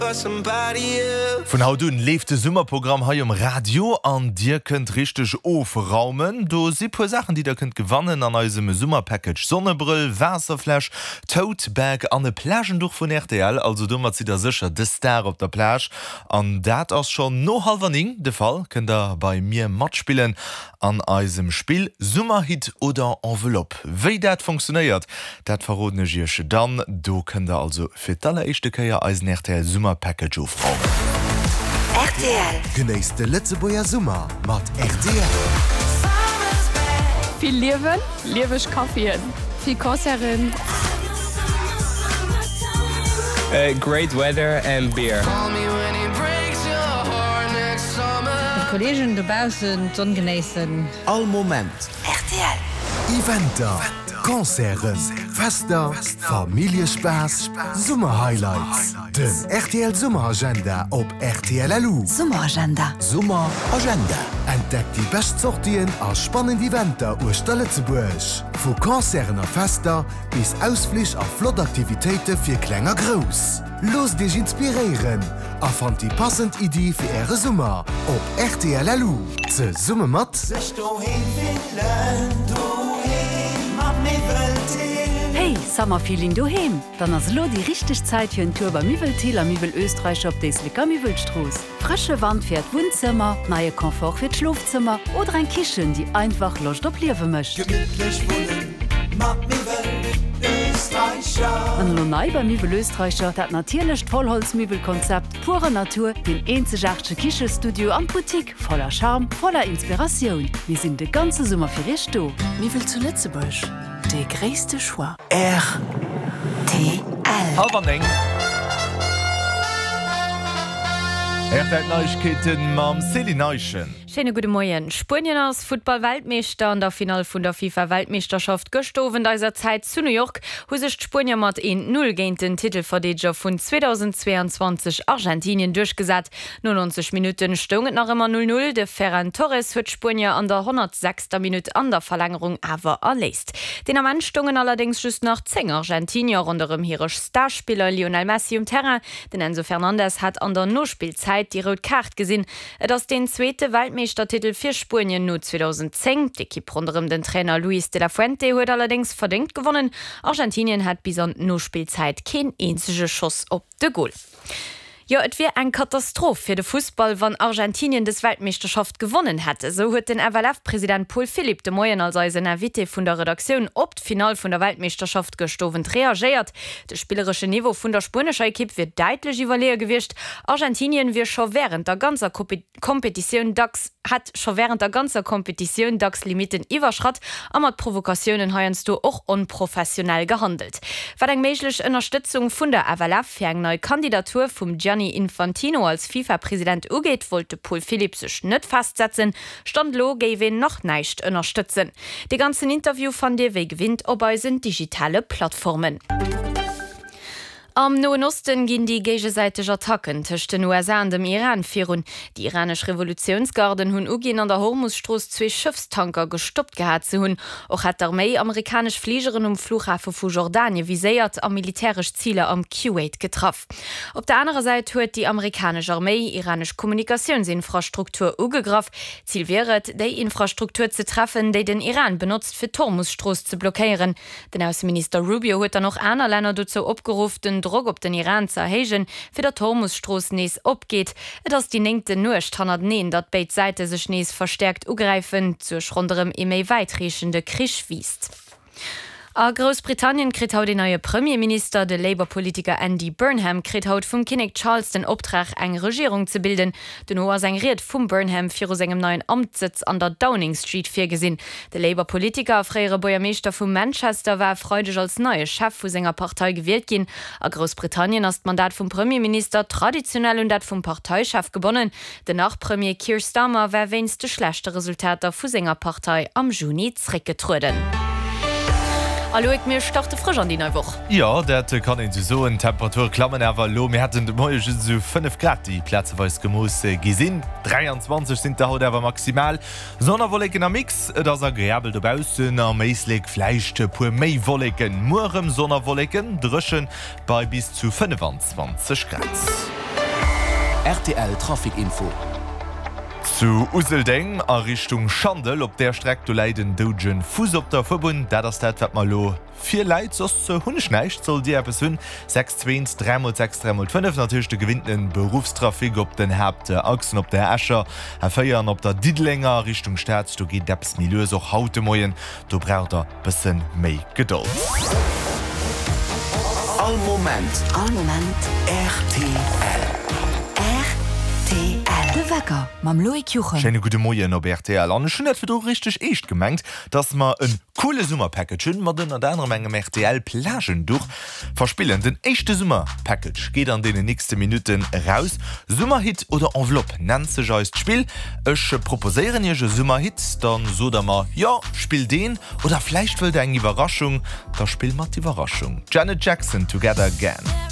Vun haut un leeft de Summerprogramm hei um Radio an dir kënnt richteg ofraumen. Do si puer Saachen déi der kënnt gewannen an eisem Summerpackage, Sonnebrëll, Waasserfläsch, Tote Bag an e Plagenduch vun rtl. Also domat sidd der sécher de Star op der Plage an dat ass schonn no hallwer 9 de Fall. Kënnt der bei mir matspillen An eisem Spill Summerhit oder Enveloppe. Wéi dat funktionéiert, dat verroden ech iech dann. Do kënnt der also fir d'alleréischte Kéier eisen rtl Summer Package ofraumen. Rtl. Genéisst de Lëtzebuerger Summer mat rtl. Vill Liewen, lieweg Caféen, vill Concerten. Great weather and beer. Mat Kollegen dobaussen d'Sonn genéissen. All Moment. Rtl. Eventer, Concerten, Fester, Familljespaas, Summerhighlights. Den rtl Summeragenda op rtl LU. Summeragenda. Summeragenda. Entdeckt déi bescht Sortien a spannend Eventer uechter Lëtzebuerg. Vu Concerten a Fester bis Ausflich a flott Aktivitéite fir Kleng a Grouss. Loosst Iech inspiréieren a fannt déi passend Iddi fir Äre Summer op rtl.lu. Zesumme mat. Sech doheem fillen, doheem mam Miwwel Thill. Hey, Summer Feeling doheem? Dann ass elo déi richteg Zäit fir en Tour bei Miwwel Thill a Miwwel Österreicher op d'Éisleker Miwwelstrooss. Frësche Wand fir Äert Wunnzëmmer, neie Confort fir d'Schlofzëmmer oder eng Kichen, déi einfach Loscht op Liewe mécht. Gemittlech wunnen mat Miwwel Österreicher. An elo nei bei Miwwel Österreicher, dat natierlecht Vollholzmiwwelkonzept, pure Natur, deen eenzegaartege Kichestudio an d'Boutique voller Charme, voller Inspiratioun. Mir sinn de ganze Summer fir Iech do. Miwwel zu Lëtzebuerg, dee gréisste Choix. Rtl. Hallwer 9. Rtl Neiegkeeten mam Céline Eischen. Schéine gudde Moien. Spuenien ass Futtball-Weltmeeschter. An der Finall vun der FIFA-Weltmeeschterschaft gëschter Owend eiser Zäit zu New York hu sech d'Spuenier mat 1, 0 géint den Titelverdeedeger vun 2022, Argentinien, duerchgesat. No 90 Minutte stoung et nach ëmmer 0, 0. De Ferran Torres huet d'Spuenier an der 106. Minutt an der Verlängerung awer erléist. Deen Ament stoungen allerdéngs just nach 10 Argentinier ronderëm hire Starspiller Lionel Messi um Terrain. Den Enzo Fernandez hat an der Nospillzäit déi rout Kaart gesinn. Et ass deen zweete Weltmeeschtertitel fir Spuenien no 2010. D'Ekipp ronderëm den Trainer Luis de la Fuente huet allerdéngs verdéngt gewonnen. Argentinien hat bis an d'Nospillzäit keen eenzege Schoss op de Gol. Jo, et wier eng Katastroph fir de Fussball, wann Argentinien dës Weltmeeschterschaft gewonnen hätt. Esou huet den FLF-President Paul Philipp de Moien als eisen Invité vun der Redaktioun op d'Finall vun der Weltmeeschterschaft gëscht Owend reagéiert. De spillereschen Niveau vun der spuenescher Ekipp wier däitlech iwwerleeë gewiescht. Argentinien wier scho wärend der ganzer Kompetitioun dacks hätt scho wärend der ganzer Kompetitioun dacks Limitten iwwerschratt a mat Provokatiounen heiansdo och onprofessionell gehandelt. Wat eng méiglech Ënnerstëtzung vun der FLF fir eng nei Kandidatur vum Gianni Infantino als FIFA-President ugeet, wollt de Paul Philipp sech net festsetzen. Stand elo géif een nach näischt ënnerstëtzen. Dee ganzen Interview fannt Dir wéi gewinnt op eisen digitale Plattformen. Am Noen Osten ginn déi géigesäiteg Attacken tëscht den USA an dem Iran virun. Déi iranesch Revolutiounsgarden hunn uginn, an der Hormus-Strooss zwee Schëffstanker gestoppt gehat ze hunn. Och hätt d'Arméi amerikanesch Fligeren um Flughafe vu Jordanie viséiert a militäresch Ziler am Kuwait getraff. Op der anerer Säit huet déi amerikanesch Arméi iranesch Kommunikatiounsinfrastruktur ugegraff. Zil wier et, déi Infrastruktur ze treffen, déi den Iran benotzt, fir d'Hormus-Strooss ze blockéieren. Den Ausseminister Rubio huet dann och aner Länner dozou opgeruff, den Drock op den Iran ze erhéijen, fir datt d'Hormus-Strooss nees opgeet. Et ass déi néngten Nuecht hannerteneen, datt béid Säite sech nees verstäerkt ugräifen. D'Suerg ronderëm ee méi wäitreechende Krich wiisst. A Groussbritannien kritt haut een neie Premierminister. De Labour-Politiker Andy Burnham kritt haut vum Kinnek Charles den Optrag, eng Regierung ze bilden. Dono ass eng Ried vum Burnham viru sengem neien Amtssëtz an der Downing Street virgesinn. De Labour-Politiker a fréiere Buergermeeschter vu Manchester war e Freideg als neie Chef vu senger Partei gewielt ginn. A Groussbritannien ass d'Mandat vum Premierminister traditionell un dat vum Parteichef gebonnen. Den Nach-Premier Keir Starmer war wéinst de schlechte Resultater vu senger Partei am Juni zréckgetrueden. A Loïc, mir starte frësch an déi nei Woch. Jo, dat kann een esou soen. D'Temperature klammen awer elo. Mir haten de Moie just esou 5 Grad, déi plazeweis gemooss gi sinn. 23 sinn et der haut awer maximal. Sonn a Wolleken am Mix, et ass agreabel dobaussen, am Éislek vläicht e puer méi Wolleken. Muer erëm Sonn a Wolleken, dréchen bei bis zu 25 Grad. Rtl Trafic Info. Zu Useldeng a Richtung Schandel op där Streck, do läit en doudegen Fuuss op der Fuerbunn. Dat ass dat, wat mer elo virläit. Soss hunn ech näischt. Sollt Dir eppes hunn, 6 2 3 mol 6 3 mol 5. Natierlech de gewinnten Beruffstrafic op den Haaptachsen, op der Escher A4 an op der Diddelenger Richtung Stad. Do geet et eppes méi lues, och haut de Moien. Do braucht Der bëssen méi Gedold. All Moment. All Moment. Rtl. Rtl. De Wecker mam Loïc Juchem. Schéine gudde Moien op rtl. An ech hunn dat virdru richteg eescht gemengt, dass mer en coole Summerpackage hunn, mat ënnert anerem engem rtl Plagenduch. Verspillen. Den éischte Summer-Package geet an deenen nächste Minutten eraus. Summerhit oder Enveloppe nennt sech eist Spill. Ech proposéieren iech e Summerhit, dann sot der mer, jo, spill deen. Oder vläicht wëllt der eng Iwwerraschung, da spill mat d'Iwwerraschung. Janet Jackson, Together Again.